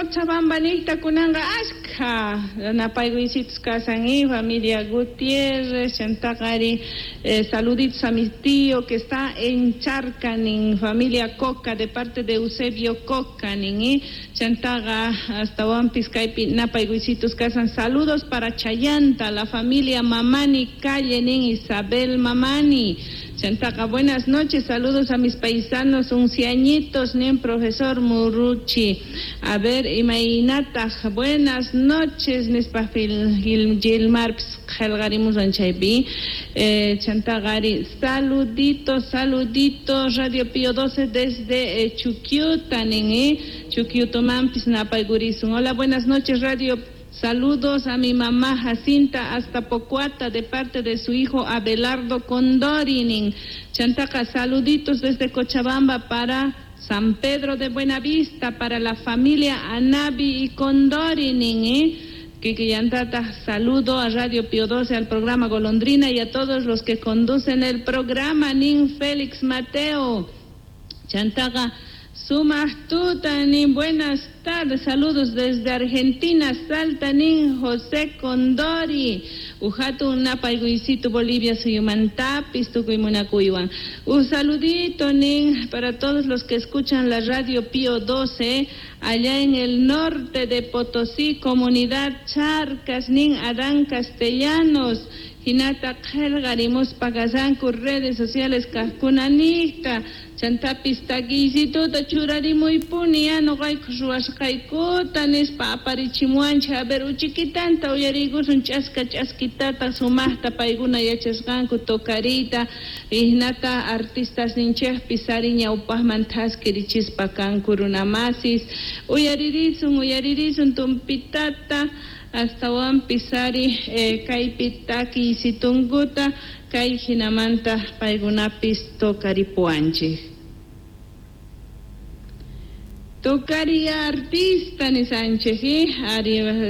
Cochabamba niqta kunanqa ashkha napaykuysitus kasan y familia Gutiérrez, chantaqari saluditos a mi tío que está en Charca, nin familia Coca, de parte de Eusebio Coca, nin y chantaqa astawanpis kaypi napaykuysitus kasan. Saludos para Chayanta, la familia Mamani Calle, nin Isabel Mamani. Chantaqa, buenas noches, saludos a mis paisanos unciañitos, nin profesor Muruchi. A ver, imaynataq, buenas noches, nispa Gilmarpis qillqarimusan chaypi. Chantaqari, saluditos, saluditos, Radio Pío 12 desde Chuquiuta, nin, Chuquiutomanpis napaykurisun. Hola, buenas noches, Radio. Saludos a mi mamá Jacinta hasta Pocuata de parte de su hijo Abelardo Condori, nin. Chantaqa, saluditos desde Cochabamba para San Pedro de Buenavista, para la familia Anabi y Condori, nin, ¿eh? Kikillantata, saludo a Radio Pío 12, al programa Golondrina y a todos los que conducen el programa, nin Félix Mateo. Chantaqa, sumaq tuta, nin, buenas tardes, saludos desde Argentina, Salta, nin José Condori. Uj hatun napaykuysitu Bolivia suyumantapis tukuy munakuywan. Un saludito, nin, para todos los que escuchan la Radio Pío 12, allá en el norte de Potosí, comunidad Charcas, nin Adán Castellanos. Hinata qillqarimuspa kasanku redes sociales kaqkunaniqta. Chantapis takiysituta churarimuypuni ya nuqayku ruwasqaykuta nispa aparichimuwanchik. A ver, uchikitanta uyariykusun ch'aska ch'askitata sumaqta paykuna yachasqanku tocariyta, hinata artistas ninchikpis ari ñawpaqman thaskirichispa kanku runamasis. Uyaririsun, uyaririsun tumpitata, astawanpis ari kaypi takiysitunkuta kay hinamanta paykunapis tocaripuwanchik. Tocari artista nisanchik, ari.